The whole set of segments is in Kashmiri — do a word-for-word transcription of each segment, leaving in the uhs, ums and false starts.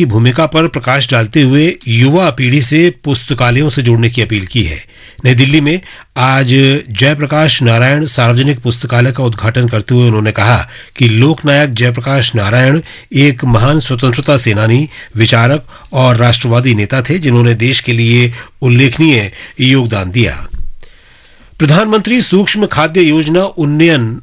की भूमिका पर प्रकाश डालते हुए युवा पीढ़ी से पुस्तकालयों से जुड़ने की अपील की है। नई दिल्ली में आज जयप्रकाश नारायण सार्वजनिक पुस्तकालय का उद्घाटन करते हुए उन्होंने कहा कि लोकनायक जयप्रकाश नारायण एक महान स्वतंत्रता सेनानी, विचारक और राष्ट्रवादी नेता थे, जिन्होंने देश के लिए उल्लेखनीय योगदान दिया। प्रधानमंत्री सूक्ष्म खाद्य योजना उन्नयन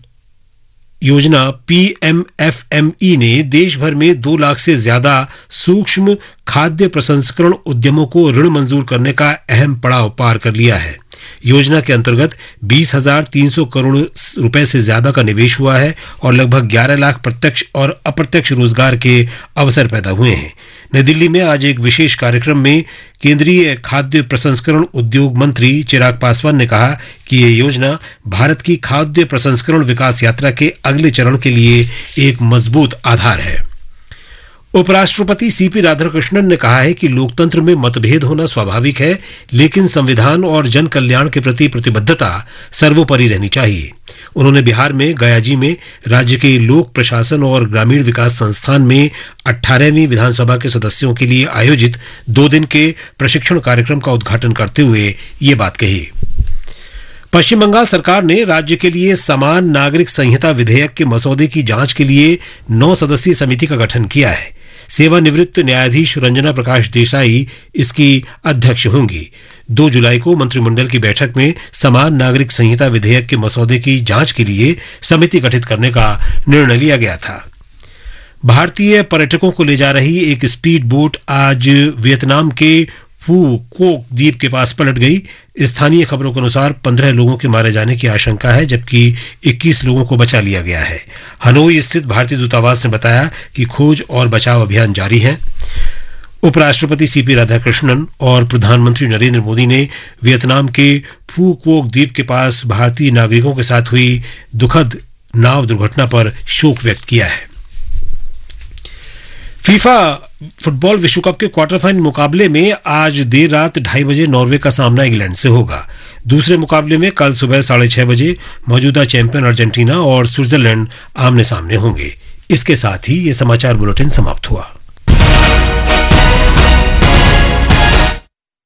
योजना, पीएमएफएमई, ने देश भर में दो लाख से ज्यादा सूक्ष्म खाद्य प्रसंस्करण उद्यमों को ऋण मंजूर करने का अहम पड़ाव पार कर लिया है। योजना के अंतर्गत बीस हजार तीन सौ करोड़ रुपए से ज्यादा का निवेश हुआ है और लगभग ग्यारह लाख प्रत्यक्ष और अप्रत्यक्ष रोजगार के अवसर पैदा हुए हैं। नई दिल्ली में आज एक विशेष कार्यक्रम में केंद्रीय खाद्य प्रसंस्करण उद्योग मंत्री चिराग पासवान ने कहा कि ये योजना भारत की खाद्य प्रसंस्करण विकास यात्रा के अगले चरण के लिए एक मजबूत आधार है। उपराष्ट्रपति सीपी राधाकृष्णन ने कहा है कि लोकतंत्र में मतभेद होना स्वाभाविक है, लेकिन संविधान और जन कल्याण के प्रति प्रतिबद्धता सर्वोपरि रहनी चाहिए। उन्होंने बिहार में गयाजी में राज्य के लोक प्रशासन और ग्रामीण विकास संस्थान में अठारहवीं विधानसभा के सदस्यों के लिए आयोजित दो दिन के प्रशिक्षण कार्यक्रम का उद्घाटन करते हुए ये बात कही। पश्चिम बंगाल सरकार ने राज्य के लिए समान नागरिक संहिता विधेयक के मसौदे की जांच के लिए नौ सदस्यीय समिति का गठन किया है। सेवानिवृत्त न्यायाधीश रंजना प्रकाश देसाई इसकी अध्यक्ष होंगी। दो जुलाई को मंत्रिमंडल की बैठक में समान नागरिक संहिता विधेयक के मसौदे की जांच के लिए समिति गठित करने का निर्णय लिया गया था। भारतीय पर्यटकों को ले जा रही एक स्पीड बोट आज वियतनाम के फू कोक द्वीप के पास पलट गई। स्थानीय खबरों के अनुसार, पन्द्रह लोगों के मारे जाने की आशंका है, जबकि इक्कीस लोगों को बचा लिया गया है। हनोई स्थित भारतीय दूतावास ने बताया कि खोज और बचाव अभियान जारी है। उपराष्ट्रपति सीपी राधाकृष्णन और प्रधानमंत्री नरेंद्र मोदी ने वियतनाम के फू कोक द्वीप के पास भारतीय नागरिकों के साथ हुई दुखद नाव दुर्घटना पर शोक व्यक्त किया है। फीफा फुटबॉल विश्व कप के क्वार्टर फाइनल मुकाबले में आज देर रात ढाई बजे नॉर्वे का सामना इंग्लैंड से होगा। दूसरे मुकाबले में कल सुबह साढ़े छह बजे मौजूदा चैंपियन अर्जेंटीना और स्विट्जरलैंड आमने सामने होंगे। इसके साथ ही ये समाचार बुलेटिन समाप्त हुआ।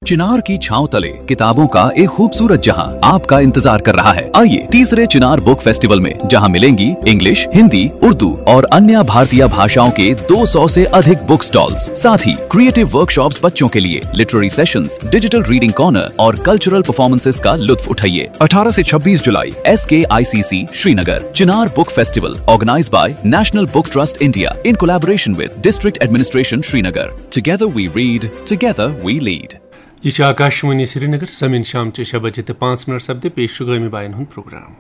चिनार की छांव तले किताबों का एक खूबसूरत जहां आपका इंतजार कर रहा है। आइए, तीसरे चिनार बुक फेस्टिवल में, जहां मिलेंगी इंग्लिश, हिंदी, उर्दू और अन्य भारतीय भाषाओं के दो सौ से अधिक बुक स्टॉल्स, साथ ही क्रिएटिव वर्कशॉप्स बच्चों के लिए, literary sessions, digital reading corner और कल्चरल परफॉर्मेंसेस का लुत्फ उठाइए। अठारह से छब्बीस जुलाई, S K I C C Srinagar. Chinar book festival, organized by National Book Trust India in collaboration with District Administration Srinagar. Together we read, together we lead. یہ چھِ آکاشوانی سرینگر۔ سمن شام چہِ شےٚ بجے تہٕ پانٛژھ منٹ سپدِ پیش چھُ گٲمی باین ہُنٛد پروگرام۔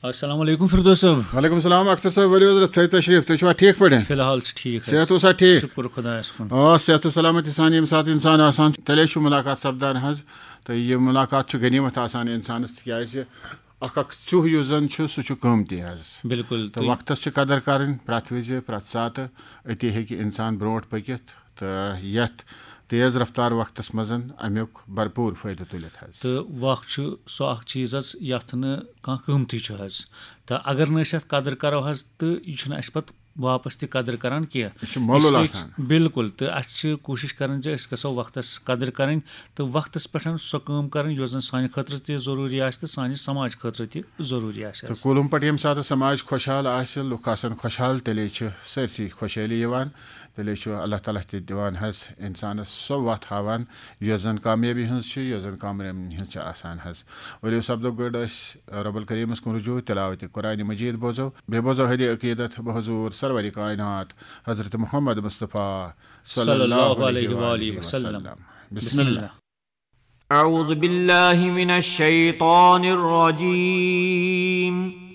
السلام علیکم فردوس صٲب۔ وعلیکم السلام اختر صٲب، ؤلِو حضرت، تھٲیِو تشریٖف، تُہۍ چھِوا ٹھیٖک پٲٹھۍ؟ فی الحال چھِ ٹھیٖک حظ۔ صحت اوسا ٹھیٖک؟ شُکُر خۄدایَس کُن۔ آ، صحت و سلامت یہِ سانہِ ییٚمہِ ساتہٕ اِنسان آسان چھُ، تیٚلے چھُ مُلاقات سپدان حظ۔ تہٕ یہِ مُلاقات چھُ غنیٖمت آسان اِنسانَس، تِکیٛازِ اکھ اکھ ژیوٚہ یُس زن چھُ، سُہ چھُ قۭمتی حظ۔ بِلکُل، تہٕ تُہۍ وقتس چھِ قدر کرٕنۍ، پرٛٮ۪تھ وِزِ، پرٛٮ۪تھ ساتہٕ، أتی ہیٚکہِ اِنسان برونٛٹھ پٔکِتھ۔ تہٕ یتھ تیز رفتار وقتس منٛز امیُک بھرپوٗر فٲیدٕ تُلِتھ حظ۔ تہٕ وق چھُ سُہ اکھ چیٖز حظ، یتھ نہٕ کانٛہہ قۭمتٕے چھُ حظ۔ تہٕ اگر نہٕ أسۍ اتھ قدر کرو حظ، تہٕ یہِ چھُنہٕ اَسہِ پتہٕ واپس تہِ قدر کران کینٛہہ۔ یہِ چھُ مۄلُل اس لیے آسان۔ بِلکُل، تہٕ اَسہِ چھِ کوٗشِش کرٕنۍ زِ أسۍ گژھو وقتس قدر کرٕنۍ تہٕ وقتس پٮ۪ٹھ سۄ کٲم کرٕنۍ یۄس زن سانہِ خٲطرٕ تہِ ضروٗری آسہِ تہٕ سانہِ سماج خٲطرٕ تہِ ضروٗری آسہِ تہٕ حظ۔ کُلُم پٲٹھۍ ییٚمہِ ساتہٕ سماج خۄشحال آسہِ، لُکھ آسن خۄشحال، تیٚلے چھِ سٲرسٕے خۄشحٲلی یِوان، تیٚلے چھُ اللہ تعالیٰ تہِ دِوان حظ اِنسانس سۄ وَتھ ہاوان، یۄس زن کامیٲبی ہٕنٛز چھِ، یۄس زن کامرٲنی ہٕنٛز چھِ آسان حظ۔ ؤلِو سپدو گٔڑ أسۍ رب الکریٖمس کُن رجوع، تلاوت قرآن مجید بوزو، بیٚیہِ بوزو ہدی عقیدت بحضور سرور کائنات حضرت محمد مصطفیٰ صلی اللہ علیہ وآلہ وسلم۔ بسم اللہ۔ أعوذ بالله من الشيطان الرجيم.